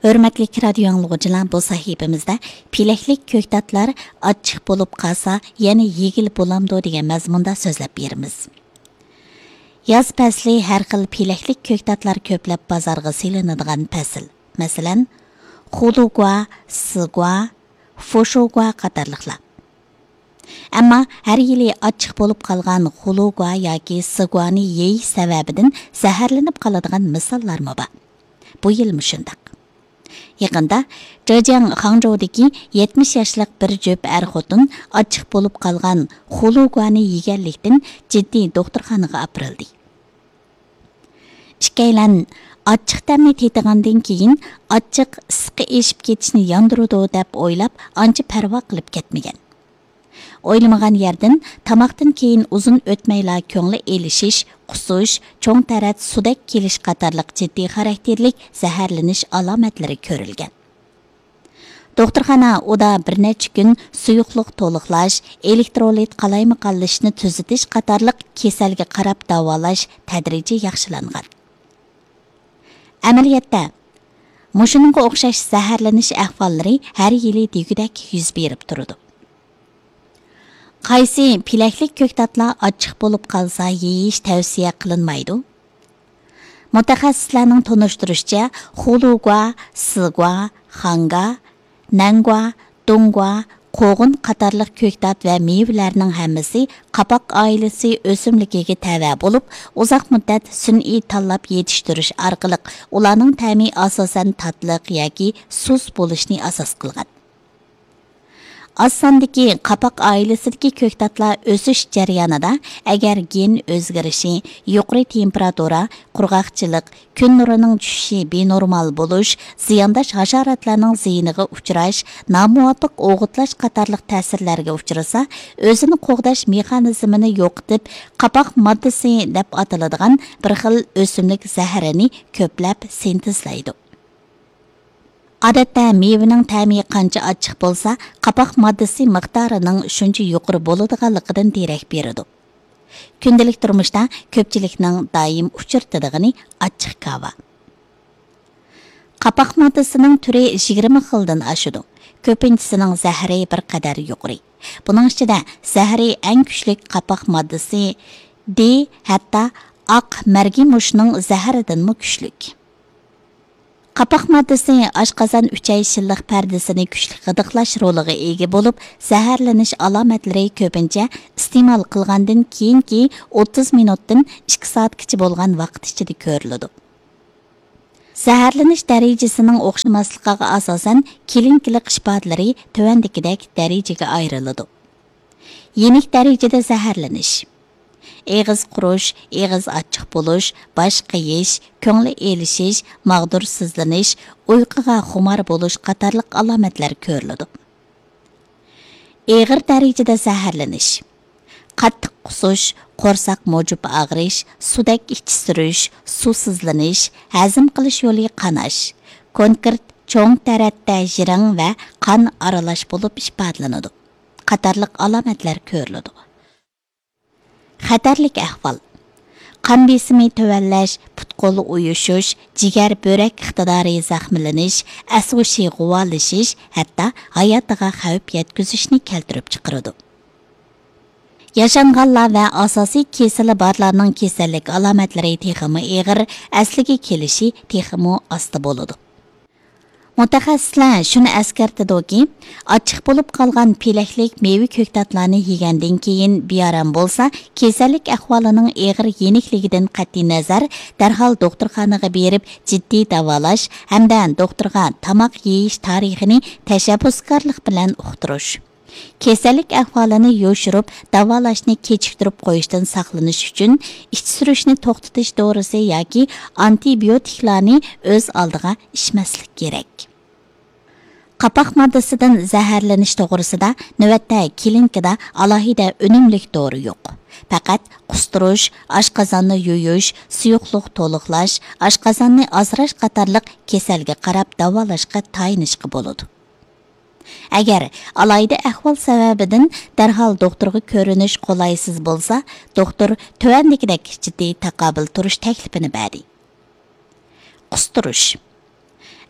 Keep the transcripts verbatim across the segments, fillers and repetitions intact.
ھۆرمەتلىك رادىيو ئاڭلىغۇچىلار، بۇ سەھىپىمىزدە پېلەكلىك كۆكتاتلار ئاچچىق بولۇپ قالسا يەنە يېگىلى بولامدۇ دېگەن مەزمۇندا سۆزلەپ بېرىمىز. ياز پەسلى ھەر خىل پېلەكلىك كۆكتاتلار كۆپلەپ بازارغا سېلىنىدىغان پەسىل. مەسىلەن، خۇلۇگۇا، سىگۇا، فوشۇگۇا قاتارلىقلار. ئەمما ھەر يىلى ئاچچىق بولۇپ قالغان خۇلۇگۇا ياكى سىگۇانى يېيىش سەۋەبىدىن زەھەرلىنىپ قالىدىغان مىساللارمۇ بار. بۇ يىلمۇ شۇنداق. يېقىندا جېجياڭ خاڭجۇدىكى يەتمىش ياشلىق بىر جۈپ ئەر خوتۇن ئاچچىق بولۇپ قالغان خۇلۇگۇانى يېگەنلىكتىن جىددىي دوختۇرخانىغا ئاپىرىلدى. ئىككىيلەن ئاچچىق تەمنى تېتىغاندىن كېيىن ئاچچىق ئىسسىقى ئېشىپ كېتىشنى ياندۇرىدۇ دەپ ئويلاپ ئانچە پەرۋا قىلىپ كەتمىگەن. ئويلىمىغان يەردىن تاماقتىن كېيىن ئۇزۇن ئۆتمەيلا كۆڭلى ئېلىشىش، قۇسۇش، چوڭ تەرەت، سۇدەك كېلىش قاتارلىق جىددىي خاراكتېرلىك زەھەرلىنىش ئالامەتلىرى كۆرۈلگەن. دوختۇرخانا ئۇدا بىر نەچچە كۈن سۇيۇقلۇق تولۇقلاش، ئېلېكترولىت قالايمىقانلىشىشنى تۈزىتىش قاتارلىق كېسەلگە قاراپ داۋالاش تەدرىجىي ياخشىلانغان. ئەمەلىيەتتە، مۇشۇنىڭغا ئوخشاش زەھەرلىنىش ئەھۋاللىرى ھەر يىلى دېگۈدەك يۈز بېرىپ تۇرىدۇ. قايسى پېلەكلىك كۆكتاتلار ئاچچىق بولۇپ قالسا يېيىش تەۋسىيە قىلىنمايدۇ؟ مۇتەخەسسىسلەرنىڭ تونۇشتۇرۇشىچە، خۇلۇگۇا، سىگۇا، خاڭگا، نەنگۇا، دۇڭگۇا، قوغۇن قاتارلىق كۆكتات ۋە مېۋىلەرنىڭ ھەممىسى قاپاق ئائىلىسى ئۆسۈملۈكىگە تەۋە بولۇپ، ئۇزاق مۇددەت سۈنئىي تاللاپ يېتىشتۈرۈش ئارقىلىق ئۇلارنىڭ تەمى ئاساسەن تاتلىق ياكى سۇس بولۇشنى ئاساس قىلغان. ئاز ساندىكى قاپاق ئائىلىسىدىكى كۆكتاتلار ئۆسۈش جەريانىدا، ئەگەر گېن ئۆزگىرىشى، يۇقىرى تېمپېراتۇرا، قۇرغاقچىلىق، كۈن نۇرىنىڭ چۈشۈشى، بىنورمال بولۇش، زىيانداش ھاشاراتلارنىڭ زىيىنىغا ئۇچراش، نامۇۋاپىق ئوغۇتلاش قاتارلىق تەسىرلەرگە ئۇچرىسا، ئۆزىنى قوغداش مېخانىزمىنى يوقىتىپ، قاپاق ماددىسى دەپ ئاتىلىدىغان بىر خىل ئۆسۈملۈك زەھىرىنى كۆپلەپ سىنتېزلايدۇ. ئادەتتە مېۋىنىڭ تەمى قانچە ئاچچىق بولسا، قاپاق ماددىسى مىقدارىنىڭ شۇنچە يۇقىرى بولىدىغانلىقىدىن دېرەك بېرىدۇ. كۈندىلىك تۇرمۇشتا كۆپچىلىكنىڭ دائىم ئۇچرىتىدىغىنى ئاچچىق كاۋا. قاپاق ماددىسىنىڭ تۈرى يىگىرمە خىلدىن ئاشىدۇ. كۆپىنچىسىنىڭ زەھىرى بىر قەدەر يۇقىرى. بۇنىڭ ئىچىدە زەھىرى ئەڭ كۈچلۈك قاپاق ماددىسى دې، ھەتتا ئاق مەرگىمۇشنىڭ زەھىرىدىنمۇ كۈچلۈك. قاپاق ماددىسى ئاشقازان ئۈچەي شىللىق پەردىسىنى كۈچلۈك غىدىقلاش رولىغا ئىگە بولۇپ، زەھەرلىنىش ئالامەتلىرى كۆپىنچە ئىستېمال قىلغاندىن كېيىنكى ئوتتۇز مىنۇتتىن ئىككى سائەتكىچە بولغان ۋاقىت ئىچىدە كۆرۈلىدۇ. زەھەرلىنىش دەرىجىسىنىڭ ئوخشىماسلىقىغا ئاساسەن، كلىنىكىلىق ئىپادىلىرى تۆۋەندىكىدەك دەرىجىگە ئايرىلىدۇ. يېنىك دەرىجىدە زەھەرلىنىش. ئېغىز قۇرۇش، ئېغىز ئاچچىق بولۇش، باش قېيىش، كۆڭلى ئېلىشىش، ماغدۇرسىزلىنىش، ئۇيقۇغا خۇمار بولۇش قاتارلىق ئالامەتلەر كۆرۈلىدۇ. ئېغىر دەرىجىدە زەھەرلىنىش. قاتتىق قۇسۇش، قورساق مۇجۇپ ئاغرىش، سۇدەك ئىچى سۈرۈش، سۇسىزلىنىش، ھەزىم قىلىش يولى قاناش، كونكرېت چوڭ تەرەتتە ژىرىڭ ۋە قان ئارىلاش بولۇپ ئىپادىلىنىدۇ. قاتارلىق ئالامەتلەر كۆرۈلىدۇ. خەتەرلىك ئەھۋال. قان بېسىمى تۆۋەنلەش، پۇت-قول ئۇيۇشۇش، جىگەر، بۆرەك ئىقتىدارى زەخىملىنىش، ئەس-ھوشى غۇۋالىشىش، ھەتتا ھاياتىغا خەۋپ يەتكۈزۈشنى كەلتۈرۈپ چىقىرىدۇ. ياشانغانلار ۋە ئاساسىي كېسىلى بارلارنىڭ كېسەللىك ئالامەتلىرى تېخىمۇ ئېغىر، ئەسلىگە كېلىشى تېخىمۇ ئاستا بولىدۇ. مۇتەخەسسىسلەر شۇنى ئەسكەرتىدۇكى، ئاچچىق بولۇپ قالغان پېلەكلىك مېۋە كۆكتاتلارنى يېگەندىن كېيىن بىئارام بولسا، كېسەللىك ئەھۋالىنىڭ ئېغىر يېنىكلىكىدىن قەتئىينەزەر، دەرھال دوختۇرخانىغا بېرىپ جىددىي داۋالاش ھەمدە دوختۇرغا تاماق يېيىش تارىخىنى تەشەببۇسكارلىق بىلەن ئۇقتۇرۇش. كېسەللىك ئەھۋالىنى يوشۇرۇپ، داۋالاشنى كېچىكتۈرۈپ قويۇشتىن ساقلىنىش ئۈچۈن، ئىچ سۈرۈشنى توختىتىش دورىسى ياكى ئانتىبىيوتىكلارنى ئۆز ئالدىغا ئىچمەسلىك كېرەك. قاپاق ماددىسىدىن زەھەرلىنىش توغرىسىدا نۆۋەتتە كلىنىكىدا ئالاھىدە ئۈنۈملۈك دورا يوق. پەقەت قۇستۇرۇش، ئاشقازاننى يۇيۇش، سۇيۇقلۇق تولۇقلاش، ئاشقازاننى ئازراش قاتارلىق كېسەلگە قاراپ داۋالاشقا تايىنىشقا بولىدۇ. ئەگەر ئالاھىدە ئەھۋال سەۋەبىدىن دەرھال دوختۇرغا كۆرۈنۈش قولايسىز بولسا، دوختۇر تۆۋەندىكىدەك جىددىي تاقابىل تۇرۇش تەكلىپىنى بەردى. قۇستۇرۇش.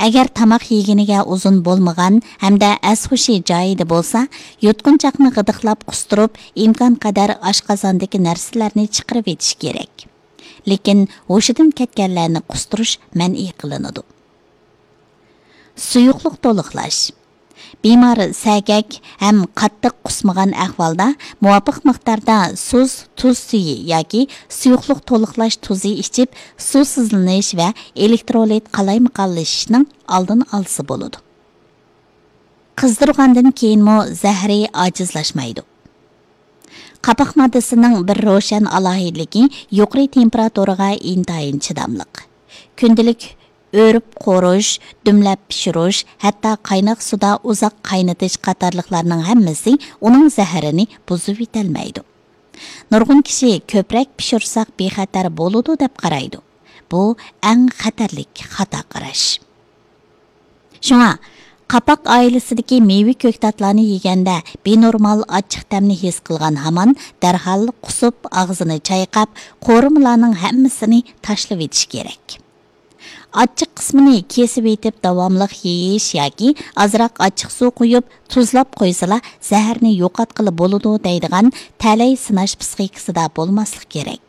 ئەگەر تاماق يېگىنىگە ئۇزۇن بولمىغان ھەمدە ئەس-ھوشى جايىدا بولسا، يۇتقۇنچاقنى غىدىقلاپ قۇستۇرۇپ، ئىمكانقەدەر ئاشقازاندىكى نەرسىلەرنى چىقىرىۋېتىش كېرەك. لېكىن ھوشىدىن كەتكەنلەرنى قۇستۇرۇش مەنئى قىلىنىدۇ. سۇيۇقلۇق تولۇقلاش. بىمار سەگەك ھەم قاتتىق قۇسمىغان ئەھۋالدا مۇۋاپىق مىقداردا سۇس، تۇز سۈيى ياكى سۇيۇقلۇق تولۇقلاش تۇزى ئىچىپ، سۇسىزلىنىش ۋە ئېلېكترولىت قالايمىقانلىشىشنىڭ ئالدىنى ئالسا بولىدۇ. قىزدۇرغاندىن كېيىنمۇ زەھىرى ئاجىزلاشمايدۇ. قاپاق ماددىسىنىڭ بىر روشەن ئالاھىدىلىكى يۇقىرى تېمپېراتۇرىغا ئىنتايىن چىداملىق. كۈندىلىك ئۆرۈپ قورۇش، دۈملەپ پىشۇرۇش، ھەتتا قايناق سۇدا ئۇزاق قاينىتىش قاتارلىقلارنىڭ ھەممىسى ئۇنىڭ زەھىرىنى بۇزۇۋېتەلمەيدۇ. نۇرغۇن كىشى كۆپرەك پىشۇرساق بىخەتەر بولىدۇ دەپ قارايدۇ. بۇ ئەڭ خەتەرلىك خاتا قاراش. شۇڭا، قاپاق ئائىلىسىدىكى مېۋە كۆكتاتلارنى يېگەندە بىنورمال ئاچچىق تەمنى ھېس قىلغان ھامان دەرھال قۇسۇپ، ئاغزىنى چايقاپ، قورۇمىلارنىڭ ھەممىسىنى تاشلىۋېتىش كېرەك. ئاچچىق قىسمىنى كېسىۋېتىپ داۋاملىق يېيىش ياكى ئازراق ئاچچىق سۇ قۇيۇپ، تۇزلاپ قويسىلا، زەھەرنى يوقاتقىلى بولىدۇ دەيدىغان تەلەي سىناش پىسخىكىسىدا بولماسلىق كېرەك.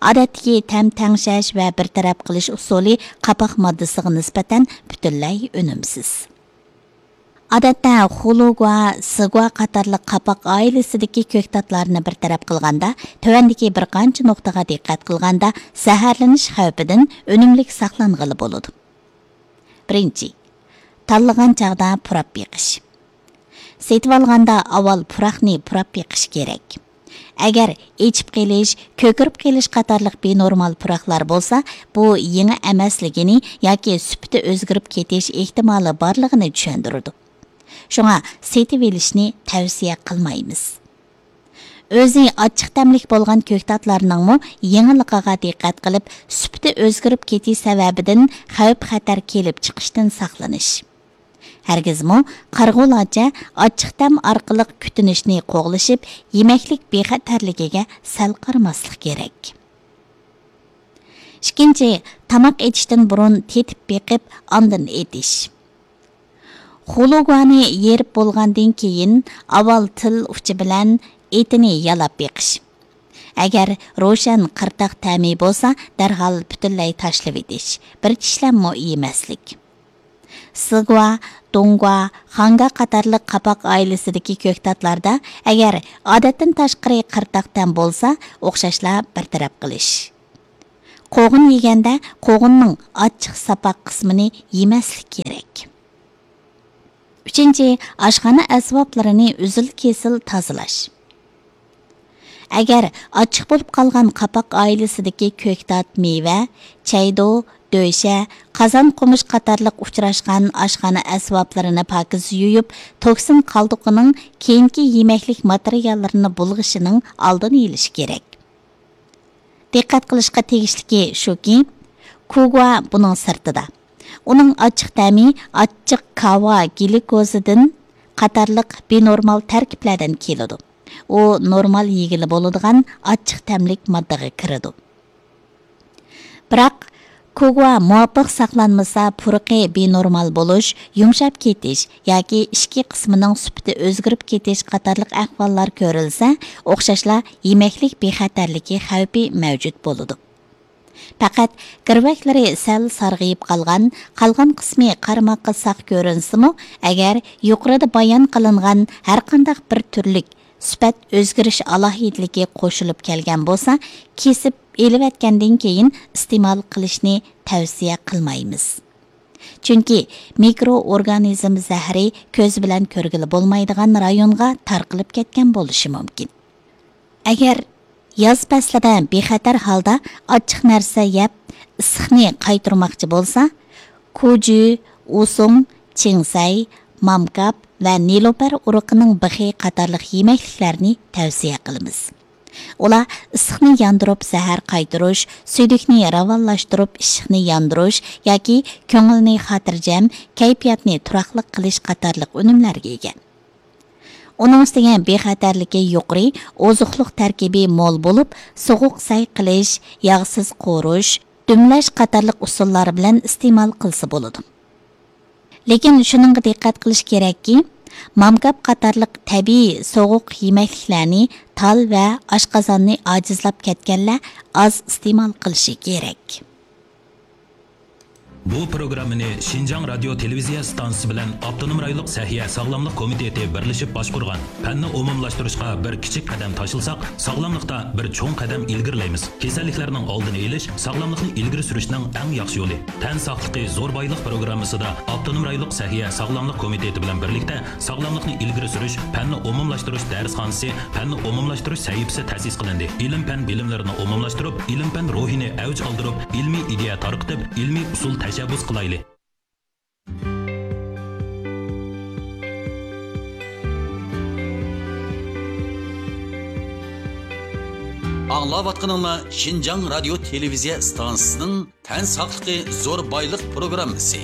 ئادەتتىكى تەم تەڭشەش ۋە بىر تەرەپ قىلىش ئۇسۇلى قاپاق ماددىسىغا نىسبەتەن پۈتۈنلەي ئۈنۈمسىز. ئادەتتە خۇلۇگۇا، سىگۇا قاتارلىق قاپاق ئائىلىسىدىكى كۆكتاتلارنى بىر تەرەپ قىلغاندا، تۆۋەندىكى بىر قانچە نۇقتىغا دىققەت قىلغاندا، زەھەرلىنىش خەۋپىدىن ئۈنۈملۈك ساقلانغىلى بولىدۇ. بىرىنچى، تاللىغان چاغدا پۇراپ بېقىش. سېتىۋالغاندا ئاۋۋال پۇراقنى پۇراپ بېقىش كېرەك. ئەگەر ئېچىپ قېلىش، كۆكىرىپ قېلىش قاتارلىق بىنورمال پۇراقلار بولسا، بۇ يېڭى ئەمەسلىكىنى ياكى سۈپىتى ئۆزگىرىپ كېتىش ئېھتىمالى بارلىقىنى چۈشەندۈرىدۇ. شۇڭا سېتىۋېلىشنى تەۋسىيە قىلمايمىز. ئۆزى ئاچچىق تەملىك بولغان كۆكتاتلارنىڭمۇ يېڭىلىقىغا دىققەت قىلىپ، سۈپىتى ئۆزگىرىپ كېتىش سەۋەبىدىن خەۋپ-خەتەر كېلىپ چىقىشتىن ساقلىنىش. ھەرگىزمۇ قارىغۇلارچە ئاچچىق تەم ئارقىلىق كۈتۈنۈشنى قوغلىشىپ، يېمەكلىك بىخەتەرلىكىگە سەل قارىماسلىق كېرەك. ئىككىنچى، تاماق ئېتىشتىن بۇرۇن تېتىپ بېقىپ، ئاندىن ئېتىش. خۇلۇگۇانى يېرىپ بولغاندىن كېيىن، ئاۋۋال تىل ئۇچى بىلەن ئېتىنى يالاپ بېقىش. ئەگەر روشەن قىرتاق تەمى بولسا، دەرھال پۈتۈنلەي تاشلىۋېتىش، بىر چىشلەممۇ يېمەسلىك. سىگۇا، دۇڭگۇا، خاڭگا قاتارلىق قاپاق ئائىلىسىدىكى كۆكتاتلاردا ئەگەر ئادەتتىن تاشقىرى قىرتاق تەم بولسا، ئوخشاشلا بىر تەرەپ قىلىش. قوغۇن يېگەندە قوغۇننىڭ ئاچچىق ساپاق قىسمىنى يېمەسلىك كېرەك. ئۈچىنچى، ئاشخانا ئەسۋابلىرىنى ئۈزۈل-كېسىل تازىلاش. ئەگەر ئاچچىق بولۇپ قالغان قاپاق ئائىلىسىدىكى كۆكتات، مېۋە، چەيدۇ، دۆشە، قازان، قومۇچ قاتارلىق ئۇچراشقان ئاشخانا ئەسۋابلىرىنى پاكىز يۇيۇپ، توكسىن قالدۇقىنىڭ كېيىنكى يېمەكلىك ماتېرىياللىرىنى بۇلغىشىنىڭ ئالدىنى ئېلىش كېرەك. دىققەت قىلىشقا تېگىشلىكى شۇكى، كۇگۇا بۇنىڭ سىرتىدا. ئۇنىڭ ئاچچىق تەمى ئاچچىق كاۋا گليۇكوزىدىن قاتارلىق بىنورمال تەركىبلەردىن كېلىدۇ. ئۇ نورمال يېگىلى بولىدىغان ئاچچىق تەملىك ماددىغا كىرىدۇ. بىراق، كوگۇا مۇۋاپىق ساقلانمىسا، پۇرىقى بىنورمال بولۇش، يۇمشاپ كېتىش ياكى ئىچكى قىسمىنىڭ سۈپىتى ئۆزگىرىپ كېتىش قاتارلىق ئەھۋاللار كۆرۈلسە، ئوخشاشلا يېمەكلىك بىخەتەرلىكى خەۋپى مەۋجۇت بولىدۇ. پەقەت گىرۋەكلىرى سەل سارغىيىپ قالغان، قالغان قىسمى قارىماققا ساق كۆرۈنسىمۇ، ئەگەر يۇقىرىدا بايان قىلىنغان ھەرقانداق بىر تۈرلۈك سۈپەت ئۆزگىرىش ئالاھىدىلىكى قوشۇلۇپ كەلگەن بولسا، كېسىپ ئېلىۋەتكەندىن كېيىن ئىستېمال قىلىشنى تەۋسىيە قىلمايمىز. چۈنكى مىكرو ئورگانىزم زەھىرى كۆز بىلەن كۆرگىلى بولمايدىغان رايونغا تارقىلىپ كەتكەن بولۇشى مۇمكىن. ئەگەر ياز پەسلىدە بىخەتەر ھالدا ئاچچىق نەرسە يەپ، ئىسسىقنى قايتۇرماقچى بولسا، كۇجۇ، ئۇسۇڭ، چىڭسەي، مامكاپ ۋە نېلۇپەر ئۇرۇقىنىڭ بىخى قاتارلىق يېمەكلىكلەرنى تەۋسىيە قىلىمىز. ئۇلار ئىسسىقنى ياندۇرۇپ زەھەر قايتۇرۇش، سۈيدۈكنى راۋانلاشتۇرۇپ ئىششىقنى ياندۇرۇش ياكى كۆڭۈلنى خاتىرجەم، كەيپىياتنى تۇراقلىق قىلىش قاتارلىق ئۈنۈملەرگە ئىگە. ئۇنىڭ ئۈستىگە بىخەتەرلىكى يۇقىرى، ئوزۇقلۇق تەركىبى مول بولۇپ، سوغۇق سەي قىلىش، ياغسىز قورۇش، دۈملەش قاتارلىق ئۇسۇللار بىلەن ئىستېمال قىلسا بولىدۇ. لېكىن شۇنىڭغا دىققەت قىلىش كېرەككى، مامكاپ قاتارلىق تەبىئىي سوغۇق يېمەكلىكلەرنى تال ۋە ئاشقازاننى ئاجىزلاپ كەتكەنلەر ئاز ئىستېمال قىلىشى كېرەك. بۇ پروگراممىنى شىنجاڭ رادىيو تېلېۋىزىيە ئىستانسىسى بىلەن ئاپتونوم رايونلۇق سەھىيە ساغلاملىق كومىتېتى بىرلىشىپ باشقۇرغان. پەننى ئومۇملاشتۇرۇشقا بىر كىچىك قەدەم تاشلىساق، ساغلاملىقتا بىر چوڭ قەدەم ئىلگىرىلەيمىز. كېسەللىكلەرنىڭ ئالدىنى ئېلىش، ساغلاملىقنى ئىلگىرى سۈرۈشنىڭ ئەڭ ياخشى يولى. تەن ساقلىقى زور بايلىق پروگراممىسىدا ئاپتونوم رايونلۇق سەھىيە ساغلاملىق كومىتېتى بىلەن بىرلىكتە ساغلاملىقنى ئىلگىرى سۈرۈش، پەننى ئومۇملاشتۇرۇش دەرسخانىسى، پەننى ئومۇملاشتۇرۇش سەھىپىسى تەسىس قىلىندى. ئىلىم-پەن بىلىملىرىنى ئومۇملاشتۇرۇپ، ئىلىم-پەن روھىنى ئەۋج ئالدۇرۇپ، ئىلمىي ئىدىيە تارقىتىپ، ئىلمىي ئۇسۇل تەشەببۇس قىلايلى. ئاڭلاۋاتقىنىڭلار شىنجاڭ رادىيو تېلېۋىزىيە ئىستانسىسىنىڭ تەن ساقلىقى زور بايلىق پروگراممىسى.